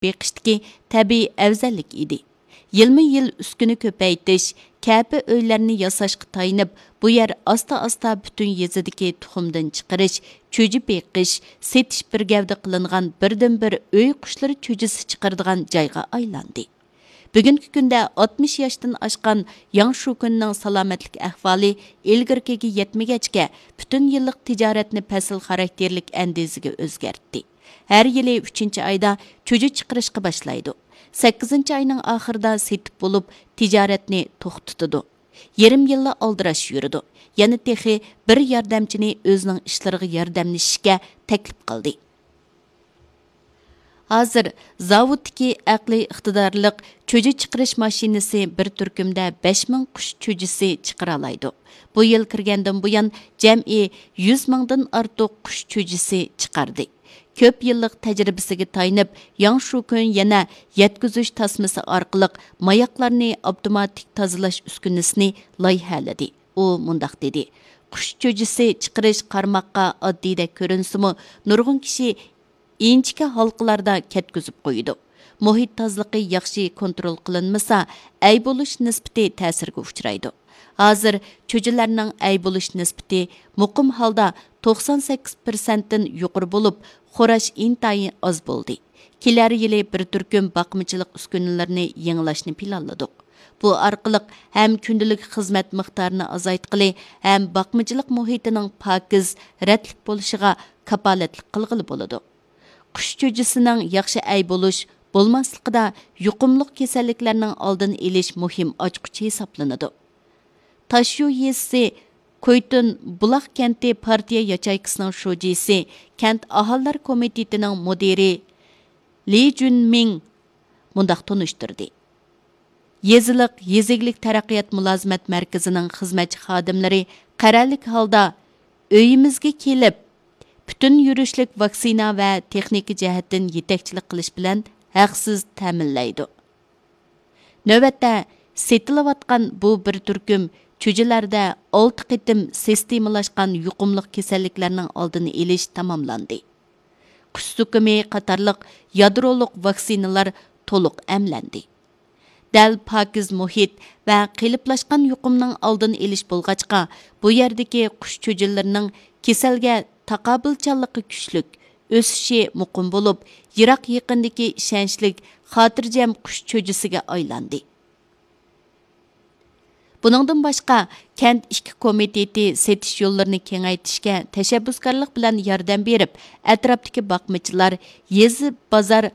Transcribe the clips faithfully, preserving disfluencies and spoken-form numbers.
بېقىشتىكى تەبىئىي ئەۋزەللىك ئىدى. يىلمۇ يىل ئۈسكۈنە كۆپەيتىش، كەپە ئۆيلەرنى ياساشقا تايىنىپ، بۇ يەر ئاستا ئاستا پۈتۈن يېزىدىكى تۇخۇمدىن چىقىرىش، چۈجە بېقىش، سېتىش بىر گەۋدە قىلىنغان بىردىنبىر ئۆي قۇشلىرى چۈجىسى چىقىرىدىغان جايغا ئايلاندى. بۈگۈنكى كۈندە ئاتمىش ياشتىن ئاشقان ياڭ شۇكۈننىڭ سالامەتلىك ئەھۋالى ئىلگىرىكىگە يەتمىگەچكە، پۈتۈن يىللىق تىجارەتنى پەسىل خاراكتېرلىك ئەندىزىگە ئۆزگەرتتى. ھەر يىلى ئۈچىنچى ئايدا چۈجە چىقىرىشقا باشلايدۇ. سەككىزىنچى ئاينىڭ ئاخىرىدا سېتىپ بولۇپ، تىجارەتنى توختىتىدۇ. يېرىم يىللا ئالدىراش يۈرىدۇ. يەنە تېخى بىر ياردەمچىنى ئۆزىنىڭ ئىشلىرىغا ياردەملىشىشكە تەكلىپ قىلدى. ھازىر زاۋۇتتىكى ئەقلىي ئىقتىدارلىق چۈجە چىقىرىش ماشىنىسى بىر تۈركۈمدە بەش مىڭ قۇش چۈجىسى چىقىرالايدۇ. بۇ يىل كىرگەندىن بۇيان جەمئىي يۈز مىڭدىن ئارتۇق قۇش چۈجىسى چىقاردى. كۆپ يىللىق تەجرىبىسىگە تايىنىپ، ياڭ شۇكۈن يەنە يەتكۈزۈش تاسمىسى ئارقىلىق ماياقلارنى ئاپتوماتىك تازىلاش ئۈسكۈنىسىنى لايىھەلىدى. ئۇ مۇنداق دېدى: «قۇش چۈجىسى چىقىرىش قارىماققا ئاددىيدەك كۆرۈنسىمۇ، نۇرغۇن كىشى ئىنچىكە ھالقىلاردا كەتكۈزۈپ قويىدۇ. مۇھىت تازىلىقى ياخشى كونترول قىلىنمىسا، ئەي بولۇش نىسبىتى تەسىرگە ئۇچرايدۇ. ھازىر چۈجىلەرنىڭ ئەي بولۇش نىسبىتى مۇقىم ھالدا توقسان سەككىز پىرسەنتتىن يۇقىرى بولۇپ، خوراش ئىنتايىن ئاز بولدى. كېلەر يىلى بىر تۈركۈم باقمىچىلىق ئۈسكۈنىلىرىنى يېڭىلاشنى پىلانلىدۇق. بۇ ئارقىلىق ھەم كۈندىلىك خىزمەت مىقدارىنى ئازايتقىلى، ھەم باقمىچىلىق مۇھىتىنىڭ پاكىز، رەتلىك بولۇشىغا كاپالەتلىك قىلغىلى بولىدۇ.» قۇش چۈجىسىنىڭ ياخشى ئەي بولۇش، بولماسلىقىدا يۇقۇملۇق كېسەللىكلەرنىڭ ئالدىنى ئېلىش مۇھىم ئاچقۇچى ھېسابلىنىدۇ. تاشيۇ يېزىسى كۇيتۇن بۇلاق كەنتى پارتىيە ياچېيكىسىنىڭ شۇجىسى، كەنت ئاھالىلەر كومىتېتىنىڭ مۇدىرى لى جۈنمىڭ مۇنداق تونۇشتۇردى: «يېزىلىق، يېزا ئىگىلىك تەرەققىيات مۇلازىمەت مەركىزىنىڭ خىزمەتچى خادىملىرى قەرەللىك ھالدا ئۆيىمىزگە كېلىپ، پۈتۈن يۈرۈشلۈك ۋاكسىنا ۋە تېخنىكا جەھەتتىن يېتەكچىلىك قىلىش بىلەن ھەقسىز تەمىنلەيدۇ.» نۆۋەتتە سېتىلىۋاتقان بۇ بىر تۈركۈم چۈجىلەردە ئالتە قېتىم سىستېمىلاشقان يۇقۇملۇق كېسەللىكلەرنىڭ ئالدىنى ئېلىش تاماملاندى. قۇش زۇكىمى قاتارلىق يادرولۇق ۋاكسىنىلار تولۇق ئەملەندى. دەل پاكىز مۇھىت ۋە قېلىپلاشقان يۇقۇمنىڭ ئالدىنى ئېلىش بولغاچقا، بۇ يەردىكى قۇش چۈجىلىرىنىڭ كېسەلگە تاقابىلچانلىقى كۈچلۈك، ئۆسۈشى مۇقىم بولۇپ، يىراق يېقىندىكى ئىشەنچلىك، خاتىرجەم قۇش چۈجىسىگە ئايلاندى. بۇنىڭدىن باشقا، كەنت ئىككى كومىتېتى سېتىش يوللىرىنى كېڭەيتىشكە تەشەببۇسكارلىق بىلەن ياردەم بېرىپ، ئەتراپتىكى باقمىچىلار، يېزا بازار،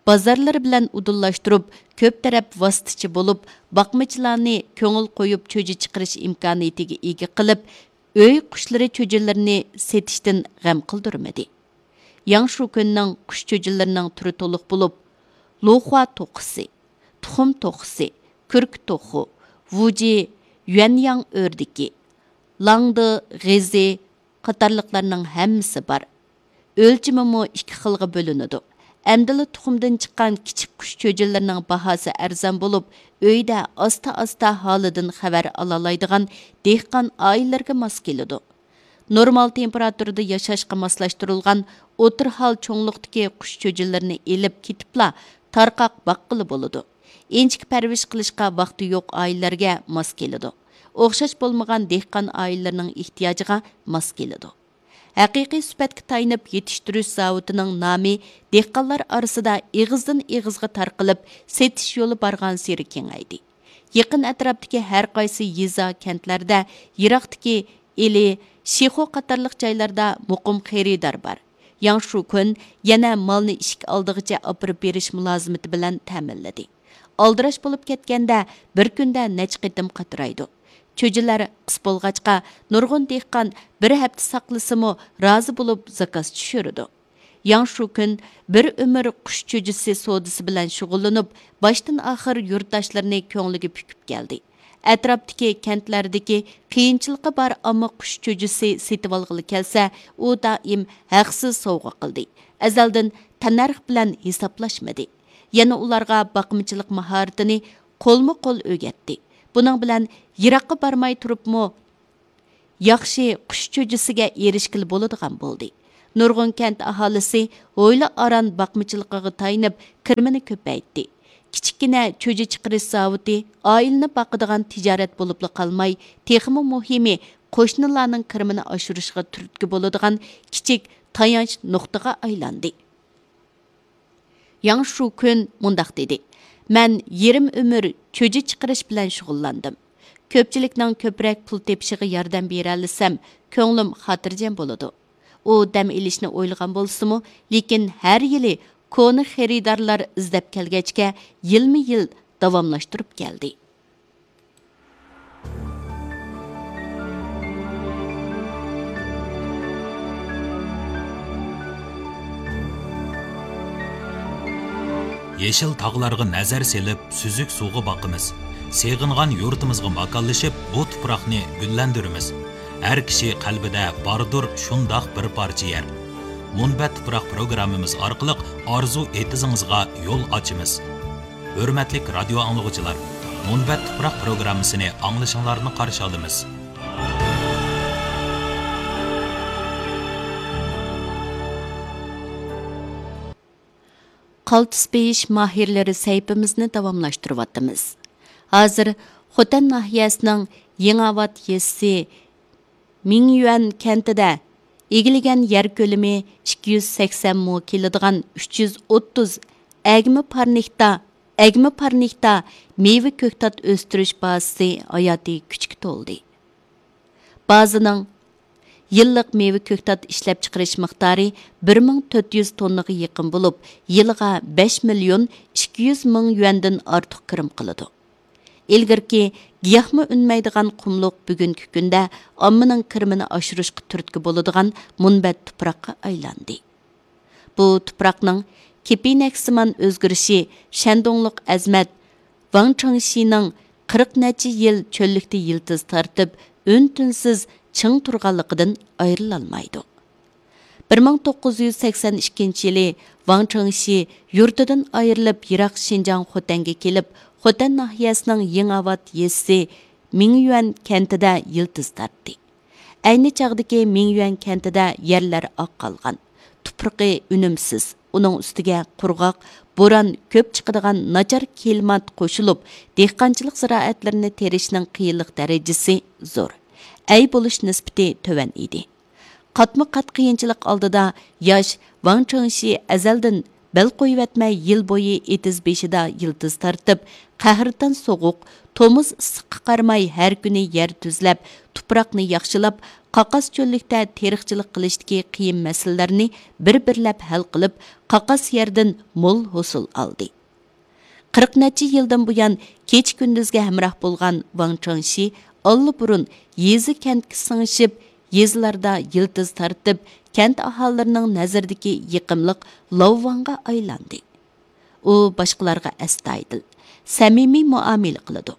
بازارلىرى بىلەن ئۇدۇللاشتۇرۇپ، كۆپ تەرەپ ۋاسىتىچى بولۇپ، باقمىچىلارنى كۆڭۈل قويۇپ چۈجە چىقىرىش ئىمكانىيىتىگە ئىگە قىلىپ، ئۆي قۇشلىرى چۈجىلىرىنى سېتىشتىن غەم قىلدۇرمىدى. ياڭ شۇكۈننىڭ قۇش چۈجىلىرىنىڭ تۈرى تولۇق بولۇپ، لۇخۇا توخۇسى، تۇخۇم توخۇسى، كۈركە توخۇ، ۋۇجى، يۈەنياڭ ئۆردىكى، لاڭدې غېزى قاتارلىقلارنىڭ ھەممىسى بار. ئۆلچىمىمۇ ئىككى خىلغا بۆلۈنىدۇ. ئەمدىلا تۇخۇمدىن چىققان كىچىك قۇش چۈجىلىرىنىڭ باھاسى ئەرزان بولۇپ، ئۆيدە ئاستا-ئاستا ھالىدىن خەۋەر ئالالايدىغان دېھقان ئائىلىلەرگە ماس كېلىدۇ. نورمال تېمپېراتۇرىدا ياشاشقا ماسلاشتۇرۇلغان ئوتتۇرا ھال چوڭلۇقتىكى قۇش چۈجىلىرىنى ئېلىپ كېتىپلا تارقاق باققىلى بولىدۇ. ئىنچىكە پەرۋىش قىلىشقا ۋاقتى يوق ئائىلىلەرگە ماس كېلىدۇ. ئوخشاش بولمىغان دېھقان ئائىلىلىرىنىڭ ئېھتىياجىغا ماس كېلىدۇ. ھەقىقىي سۈپەتكە تايىنىپ يېتىشتۈرۈش زاۋۇتىنىڭ نامى دېھقانلار ئارىسىدا ئېغىزدىن ئېغىزغا تارقىلىپ، سېتىش يولى بارغانسېرى كېڭەيدى. يېقىن ئەتراپتىكى ھەر قايسى يېزا، كەنتلەردە، يىراقتىكى ئىلى، شىخۇ قاتارلىق جايلاردا مۇقىم خېرىدار بار. ياڭ شۇكۈن يەنە مالنى ئىشىك ئالدىغىچە ئاپىرىپ بېرىش مۇلازىمىتى بىلەن تەمىنلىدى. ئالدىراش بولۇپ كەتكەندە، بىر كۈندە نەچچە قېتىم قاترايدۇ. چۈجىلەر قىس بولغاچقا، نۇرغۇن دېھقان بىر ھەپتە ساقلىسىمۇ رازى بولۇپ زاكاز چۈشۈرىدۇ. ياڭ شۇكۈن بىر ئۆمۈر قۇش چۈجىسى سودىسى بىلەن شۇغۇللىنىپ، باشتىن ئاخىر يۇرتداشلىرىنى كۆڭلىگە پۈكۈپ كەلدى. ئەتراپتىكى كەنتلەردىكى قىيىنچىلىقى بار ئامما قۇش چۈجىسى سېتىۋالغىلى كەلسە، ئۇ دائىم ھەقسىز سوۋغا قىلدى. ئەزەلدىن تەننەرخ بىلەن ھېسابلاشمىدى. يەنە ئۇلارغا باقمىچىلىق ماھارىتىنى قولمۇ قول ئۆگەتتى. بۇنىڭ بىلەن يىراققا بارماي تۇرۇپمۇ ياخشى قۇش چۈجىسىگە ئېرىشكىلى بولىدىغان بولدى. نۇرغۇن كەنت ئاھالىسى ھويلا ئاران باقمىچىلىقىغا تايىنىپ، كىرىمىنى كۆپەيتتى. كىچىككىنە چۈجە چىقىرىش زاۋۇتى ئائىلىنى باقىدىغان تىجارەت بولۇپلا قالماي، تېخىمۇ مۇھىمى، قوشنىلارنىڭ كىرىمىنى ئاشۇرۇشىغا تۈرتكە بولىدىغان كىچىك تايانچ نۇقتىغا ئايلاندى. ياڭ شۇكۈن مۇنداق دېدى: مەن يېرىم ئۆمۈر چۈجە چىقىرىش بىلەن شۇغۇللاندىم. كۆپچىلىكنىڭ كۆپرەك پۇل تېپىشىغا ياردەم بېرەلىسەم، كۆڭلۈم خاتىرجەم بولىدۇ. ئۇ دەم ئېلىشنى ئويلىغان بولسىمۇ، لېكىن ھەر يىلى كونا خېرىدارلار ئىزدەپ كەلگەچكە، يىلمۇ يىل داۋاملاشتۇرۇپ كەلدى. يېشىل تاغلارغا نەزەر سېلىپ، سۈزۈك سۇغا باقىمىز. سېغىنغان يۇرتىمىزغا ماكانلىشىپ، بۇ تۇپراقنى گۈللەندۈرىمىز. ھەر كىشى قەلبىدە باردۇر شۇنداق بىر پارچە يەر. مۇنبەت تۇپراق پروگراممىمىز ئارقىلىق ئارزۇ ئېتىزىڭىزغا يول ئاچىمىز. ھۆرمەتلىك رادىيو ئاڭلىغۇچىلار، مۇنبەت تۇپراق پروگراممىسىنى ئاڭلىشىڭلارنى قارشى ئالىمىز. قالتىس بېيىش ماھىرلىرى سەھىپىمىزنى داۋاملاشتۇرۇۋاتىمىز. ھازىر خوتەن ناھىيەسىنىڭ يېڭىئاۋات يېزىسى مىڭيۈەن كەنتىدە ئىگىلىگەن يەر كۆلىمى ئىككى يۈز سەكسەن مو كېلىدىغان ئۈچ يۈز ئوتتۇز ئەگمە پارنىكتا، ئەگمە پارنىكتا مېۋە كۆكتات ئۆستۈرۈش بازىسى ھاياتىي كۈچكە تولدى. بازىنىڭ يىللىق مېۋە كۆكتات ئىشلەپچىقىرىش مىقدارى بىر مىڭ تۆت يۈز توننىغا يېقىن بولۇپ، يىلىغا بەش مىليون ئىككى يۈز مىڭ يۈەندىن ئارتۇق كىرىم قىلىدۇ. ئىلگىرىكى گىياھمۇ ئۈنمەيدىغان قۇملۇق بۈگۈنكى كۈندە ئاممىنىڭ كىرىمىنى ئاشۇرۇشقا تۈرتكە بولىدىغان مۇنبەت تۇپراققا ئايلاندى. بۇ تۇپراقنىڭ كېپىنەكسىمان ئۆزگىرىشى شەندۇڭلۇق ئەزىمەت ۋاڭ چېڭشىنىڭ قىرىق نەچچە يىل چۆللۈكتە يىلتىز تارتىپ، ئۈن-تىنسىز چىڭ تۇرغانلىقىدىن ئايرىلالمايدۇ. بىر مىڭ توققۇز يۈز سەكسەن ئىككىنچى يىلى ۋاڭ چېڭشى يۇرتىدىن ئايرىلىپ، يىراق شىنجاڭ خوتەنگە كېلىپ، خوتەن ناھىيەسىنىڭ يېڭىئاۋات يېزىسى مىڭيۈەن كەنتىدە يىلتىز تارتتى. ئەينى چاغدىكى مىڭيۈەن كەنتىدە يەرلەر ئاق قالغان، تۇپرىقى ئۈنۈمسىز، ئۇنىڭ ئۈستىگە قۇرغاق، بوران كۆپ چىقىدىغان ناچار كىلىمات قوشۇلۇپ، دېھقانچىلىق زىرائەتلىرىنى تېرىشنىڭ قىيىنلىق دەرىجىسى زور، ئەي بولۇش نىسبىتى تۆۋەن ئىدى. قاتمۇ قات قىيىنچىلىق ئالدىدا ياش ۋاڭ چېڭشى ئەزەلدىن بەل قويۇۋەتمەي، يىل بويى ئېتىز بېشىدا يىلتىز تارتىپ، قەھرىتان سوغۇق، تومۇز ئىسسىققا قارىماي، ھەر كۈنى يەر تۈزلەپ، تۇپراقنى ياخشىلاپ، قاقاس چۆللۈكتە تېرىقچىلىق قىلىشتىكى قىيىن مەسىلىلەرنى بىر-بىرلەپ ھەل قىلىپ، قاقاس يەردىن مول ھوسۇل ئالدى. قىرىق نەچچە يىلدىن بۇيان كېچە-كۈندۈزگە ھەمراھ بولغان ۋاڭ چېڭشى ئاللىبۇرۇن يېزا-كەنتكە سىڭىشىپ، يېزىلاردا يىلتىز تارتىپ، كەنت ئاھالىلىرىنىڭ نەزىرىدىكى يېقىملىق لاۋۋاڭغا ئايلاندى. ئۇ باشقىلارغا ئەستايىدىل، سەمىمىي مۇئامىلە قىلىدۇ.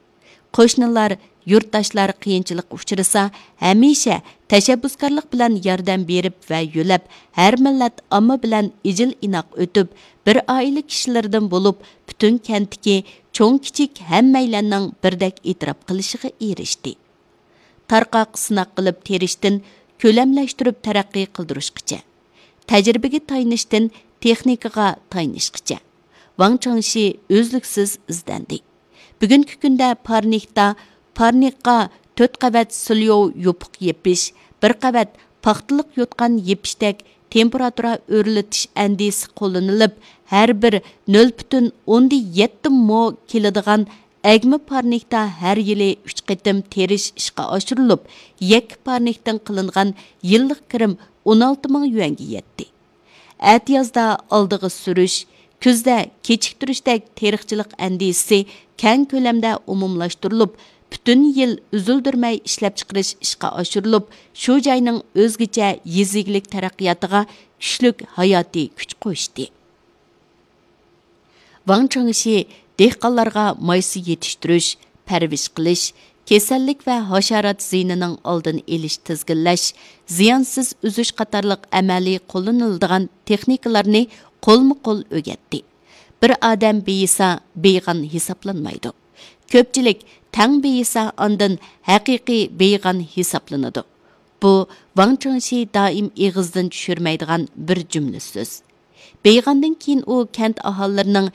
قوشنىلار، يۇرتداشلار قىيىنچىلىققا ئۇچرىسا، ھەمىشە تەشەببۇسكارلىق بىلەن ياردەم بېرىپ ۋە يۆلەپ، ھەر مىللەت ئامما بىلەن ئىجىل-ئىناق ئۆتۈپ، بىر ئائىلە كىشىلىرىدىن بولۇپ، پۈتۈن كەنتتىكى چوڭ-كىچىك ھەممەيلەننىڭ بىردەك ئېتىراپ قىلىشىغا ئېرىشتى. تارقاق سىناق قىلىپ تېرىشتىن كۆلەملەشتۈرۈپ تەرەققىي قىلدۇرۇشقىچە، تەجرىبىگە تايىنىشتىن تېخنىكىغا تايىنىشقىچە، ۋاڭ چېڭشى ئۈزلۈكسىز ئىزدەندى. بۈگۈنكى كۈندە پارنىكتا، پارنىكقا تۆت قەۋەت سىليوۋ يوپۇق يېپىش، بىر قەۋەت پاختىلىق يوتقان يېپىشتەك تېمپېراتۇرا ئۆرلىتىش ئەندىزىسى قوللىنىلىپ، ھەر بىر نۆل پۈتۈن ئوندىن يەتتە مو كېلىدىغان ئەگمە پارنىكتا ھەر يىلى ئۈچ قېتىم تېرىش ئىشقا ئاشۇرۇلۇپ، يەككە پارنىكتىن قىلىنغان يىللىق كىرىم ئون ئالتە مىڭ يۈەنگە يەتتى. ئەتىيازدا ئالدىغا سۈرۈش، كۈزدە كېچىكتۈرۈشتەك تېرىقچىلىق ئەندىزىسى كەڭ كۆلەمدە ئومۇملاشتۇرۇلۇپ، پۈتۈن يىل ئۈزۈلدۈرمەي ئىشلەپچىقىرىش ئىشقا ئاشۇرۇلۇپ، شۇ جاينىڭ ئۆزگىچە يېزا ئىگىلىك تەرەققىياتىغا كۈچلۈك ھاياتىي كۈچ قوشتى. ۋاڭ چېڭشى دېھقانلارغا مايسا يېتىشتۈرۈش، پەرۋىش قىلىش، كېسەللىك ۋە ھاشارات زىيىنىنىڭ ئالدىنى ئېلىش، تىزگىنلەش، زىيانسىز ئۈزۈش قاتارلىق ئەمەلىي قوللىنىلىدىغان تېخنىكىلارنى قولمۇ قول ئۆگەتتى. بىر ئادەم بېيىسا، بېيىغان ھېسابلانمايدۇ. كۆپچىلىك تەڭ بېيىسا، ئاندىن ھەقىقىي بېيىغان ھېسابلىنىدۇ. بۇ ۋاڭ چېڭشى دائىم ئېغىزدىن چۈشۈرمەيدىغان بىر جۈملە سۆز. بېيىغاندىن كېيىن ئۇ كەنت ئاھالىلىرىنىڭ